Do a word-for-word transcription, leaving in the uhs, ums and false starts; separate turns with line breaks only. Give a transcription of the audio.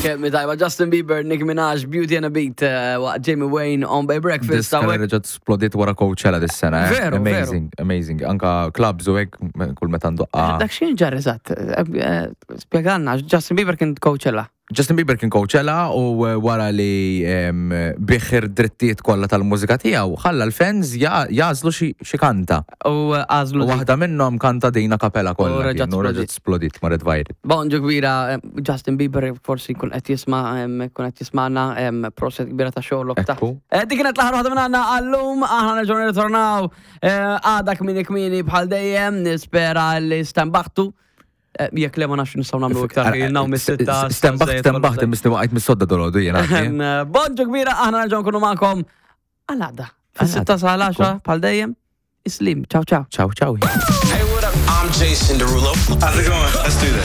Kemm tajba Justin Bieber, Nicki Minaj, Beauty and a Beat, eh, waqt Jamie Wayne on Bay Breakfast.
Diska
Hawnhekk.
reġgħet splodiet wara Coachella dis-sena. eh?
Veru, veru.
Amazing, amazing. Anka clubs u hekk kull meta ndoqqa.
Dak x'kien ġar eżatt? Eh, Spjegalna, Justin Bieber kien Coachella.
Justin Bieber kien Coachella u eh, wara li em, biegħ id-drittijiet kollha tal-mużika tiegħu ħalla l-fans ja- jagħżlu xi xi kanta.
U eh, għażlu
U
dik.
waħda minnhom kanta din a cappella
U
kollha.
reġgħet
kien, u reġgħet splodiet marret viral.
Bonġu kbira, eh, Justin Bieber forsi jkun qed jisma' em, jkun qed jisma'na em, proset kbira ta' xogħolok ta'
Ekku.
Eh, Dik kienet l-aħħar waħda minn għandna għallum, aħna nerġgħu nirritornaw eh, għada kmieni kmieni bħal dejjem, nispera li stenbaħtu. Eh, Jekk le ma nafx nistgħu nagħmlu iktar ilna mis-sitta.
Stenbaħt, stenbaħt, misni waqajt mis-sodda dolodu jena.
Em, Bonġu kbira, aħna nerġgħu nkunu magħkom għal għada. Fis-sitta sa għaxra bħal dejjem. Islim, ciao ciao.
Ciao, ciao.
Hey, what up? I'm Jason Derulo.
How's it going? Let's do this.